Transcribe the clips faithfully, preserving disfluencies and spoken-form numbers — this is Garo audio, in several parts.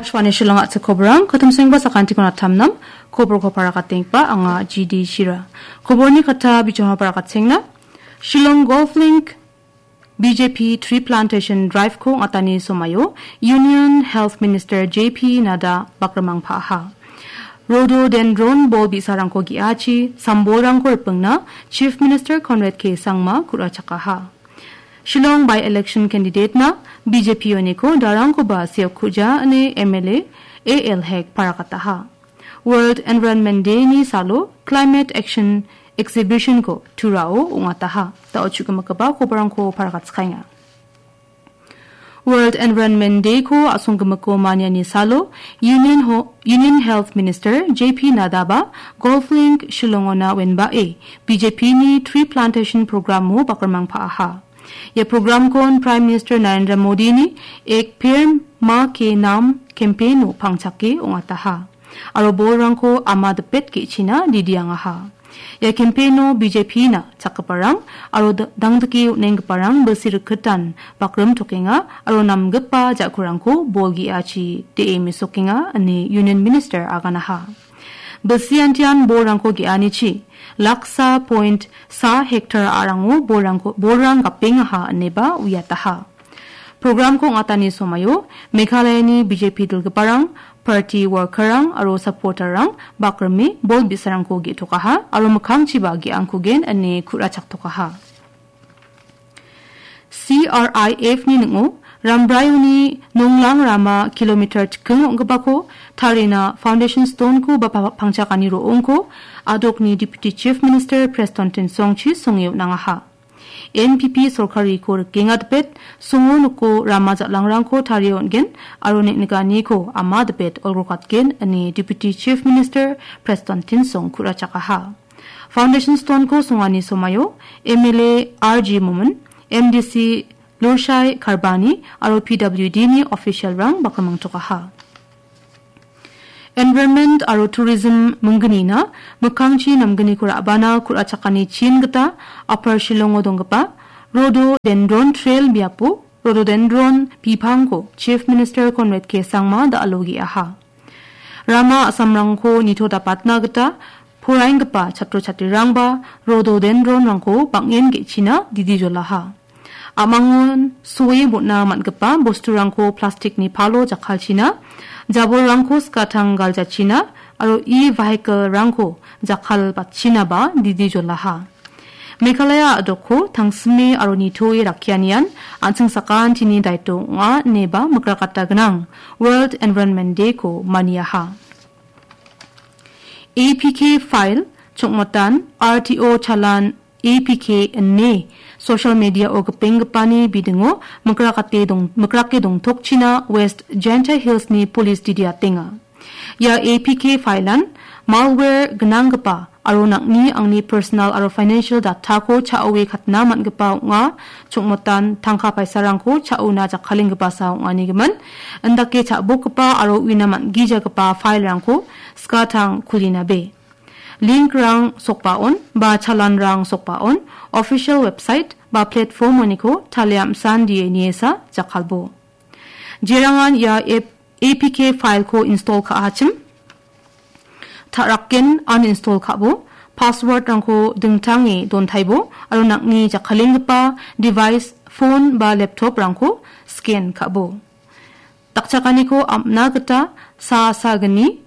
Shwani Shillong a·chik kobrang, katumsengba sakantikon atamnam, koborko parakatengpa anga G D Shira. Koborni kata bichonga parakatengna, Shillong Golf Link B J P Tree Plantation Drive-ko ong·atani somaio Union Health Minister J P Nadda bakrimangpaaha. Rhododendron bol bi·sarangko ge·achi, sambolrangko ripengna Chief Minister Conrad K Sangma ku·rachakaha. Shillong by-election candidate-na B J P uniko darangkoba seokkuja ine M L A A L Hek parakataha. World Environment Day-ni salo Climate Action Exhibition-ko Turao ong·ataha. Da·o chu·gimikkaba koborangko parakatskaenga. World Environment Day-ko a·songgimiko maniani salo Union Ho-, Union Health Minister J P Nadda-ba Golf Link Shillong-ona wenbae B J P-ni tree plantation program-o bakrimangpaaha. Ia program-kon Prime Minister Narendra Modi-ni Ek Ped Maa Ke Naam campaign-o pangchake ong·ataha. Aro bolrangko ama dipet ge·china didiangaha. Ia campaign-o B J P-na chakgiparang aro da-, dangdike on·enggiparang bilsi rikitan bakrim tokenga aro namgipa ja·kurangko bol ge·achi de·e mesokenga ine Union Minister aganaha. Bilsi antian bolrangko ge·anichi laksa point sa hektar a·rango bolrangko, bolrang gapengaha ineba uiataha. Program-ko ong·atani somaio Meghalayani B J P dilgiparang, party worker-rang aro supporter-rang bakrime bol bi·sarangko ge·tokaha aro mikkangchiba ge·angkugen ine ku·rachaktokaha. C R I F-ni ning·o Rambraioni nonglang rama kilometer chiking ong·gipako tarina foundation stone-ko ba pa-, pangchakani ro·ongko a·dokni Deputy Chief Minister Prestone Tynsongchi songe on·angaha. N P P sorkariko rikenga dipet, songo noko rama jal·angrangko tarie on·gen aro neng·nikaniko ama dipet olgrokatgen ine Deputy Chief Minister Prestone Tynsong ku·rachakaha. Foundation stone-ko songani somaio M L A R G Momin, M D C Lurshai Kharbani aro P W D-ni official-rang bakrimangtokaha. Environment aro Tourism minggnina mikkangchi namgniko ra·bana ku·rachakani chin gita Upper Shillong-o donggipa Rhododendron Trail biapo Rhododendron bipangko Chief Minister Conrad K Sangma da·alo ge·aha. Rama a·samrangko nitodapatna gita poraenggipa chatro chatrirangba rhododendron-rangko bang·en ge·china didi jolaha. A·mangon soe bon·a man·gipa bosturangko plastikni palo jakkalchina, jabolrangko skatang galjachina aro e-vehicle-rangko jakkalbatchinaba didi jolaha. Meghalaya a·dokko tangsime aro nitoe rakkianian an·ching sakantini daito ong·a ineba mikrakata gnang World Environment Day-ko maniaha. A P K file, chongmotan, R T O chalan, A P K ine social media-o gipenggipani bidingo mikrakate dong-, mikrake dongtokchina West Jaintia Hills-ni police didiatenga. Ia A P K file-an malware gnanggipa aro nang·ni angni personal aro financial data-ko cha·oe katna man·gipa ong·a, chongmotan tangka paisarangko cha·ona jakkalenggipasa ong·anigimin, indake cha·bokgipa aro uina man·gijagipa file-rangko skatang kulinabe. Link-rang sokbaon ba chalan-rang sokbaon official website ba platform-oniko talia am·san D N A-sa jakkalbo. Jerangan ia app A P K file-ko install ka·achim, ta·rakgen uninstall ka·bo, password-rangko dingtange dontaibo aro nang·ni jakkalenggipa device, phone ba laptop-rangko scan ka·bo. Dakchakaniko am·na gita sa sagni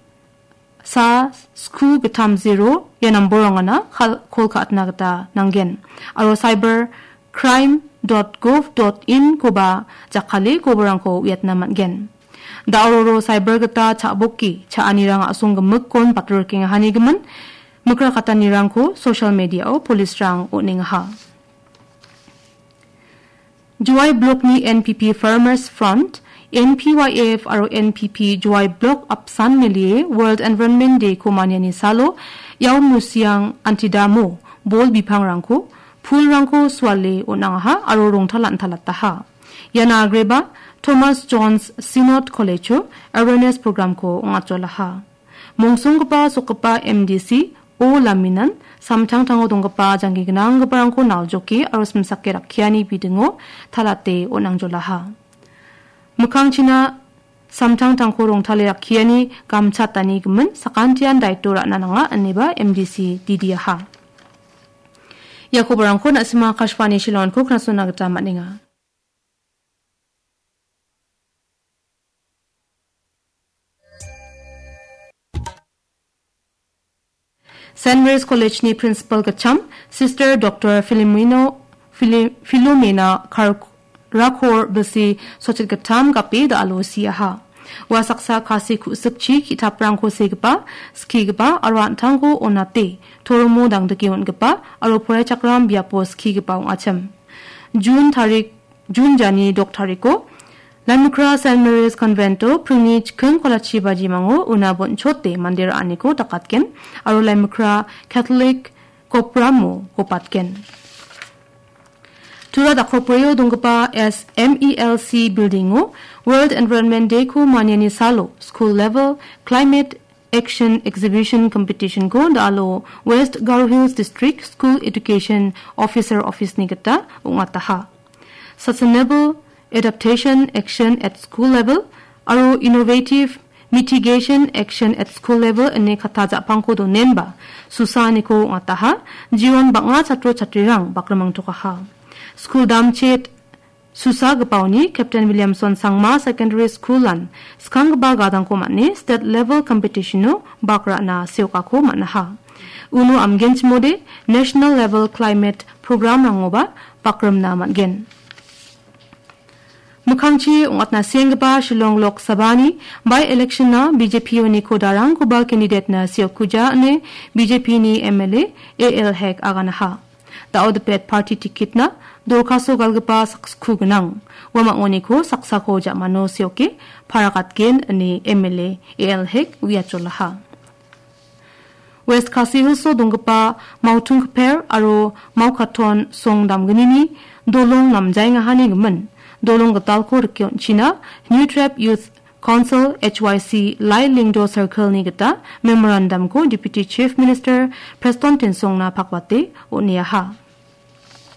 sa sku gittam zero ia namborangana kal-, kol ka·atna gita nanggen. Aro cyber crime dot gov dot in-koba jakkale koborangko uiatna man·gen. Da·ororo cyber gita cha·boki cha·anirang a·songgimikkon batrorkengahanigimin, mikrakatanirangko social media-o police-rang on·engaha. Jowai Block-ni N P P Farmers Front, N P Y F aro N P P Jowai Block apsan melie World Environment Day-ko maniani salo, Yaomusiang antidamo bol bipangrangko, pulrangko suale on·angaha aro rongtalan·talataha. Iana agreba Thomas Jones Synod College-o awareness program-ko ong·atjolaha. Mongsonggipa sokgipa M D C O Laminan samtangtango donggipa jangki gnanggiparangko naljoke aro simsake rakkiani bidingo talate on·angjolaha. Mikkangchina samtangtangko rongtale rakkiani gamchatani gimin sakantian daito ra·na nanga, ineba M D C didiaha. Ia kobarangko na·sima Akashvani Shillongko knasona gita man·enga. Saint Mary's College-ni Principal gitcham, Sister Doctor Filomeno, Fili-, Filomena Kar-, Rakor bisi sochit gittam gape da·alo siaha. Ua saksa Khasi ku·sikchi ki·taprangko segipa, skigipa aro an·tangko onate, toromo dangdike on·gipa aro poraichakram biapo skigipa ong·achim. Jun tarik Jun jani dok tariko, Laimukra Saint Mary's Convento pringni chiking kolachi bajimango una bonchote mande ra·aniko dakatgen aro Laimukra Catholic Kopramo gopatgen. Tura dakopbrio donggipa S M E L C building-o World Environment Day-ko maniani salo school level climate Action Exhibition Competition-ko da·alo West Garo Hills District School Education Officer Office-ni gita ong·ataha. Sustainable Adaptation Action at School Level aro Innovative Mitigation Action at School Level ine katta ja·pangko donenba susaaniko ong·ataha, jion bang·a chatro chatrirang bakrimangtokaha. Skul damchet susagipaoni Captain Williamson Sangma Secondary School-an skanggipa gadangko man·e state level competition-o bak ra·na seokako man·aha. Uno amgenchimode national level climate program-rangoba bakrimna man·gen. Mikkangchi ong·atna sienggipa Shillong Lok Sabha-ni by-election-a B J P-oni kodarangkoba candidate-na seokkuja ine B J P-ni M L A A L Hek aganaha. Da·o dipet party ticket-na dorkaso galgipa sakskku gnang. Ua mang·oniko saksako ja·mano seoke parakatgen ine M L A A L Hek uiacholaha. West Khasi Hills-o donggipa Mautung Kper aro Maukaton Song damgnini dolong namjaengahani gimin dolong gitalko rike on·china New Tribe Youth Council H Y C Lai Lingdo Circle-ni gita memorandum-ko Deputy Chief Minister Preston Tynsong-na pakwate on·eaha.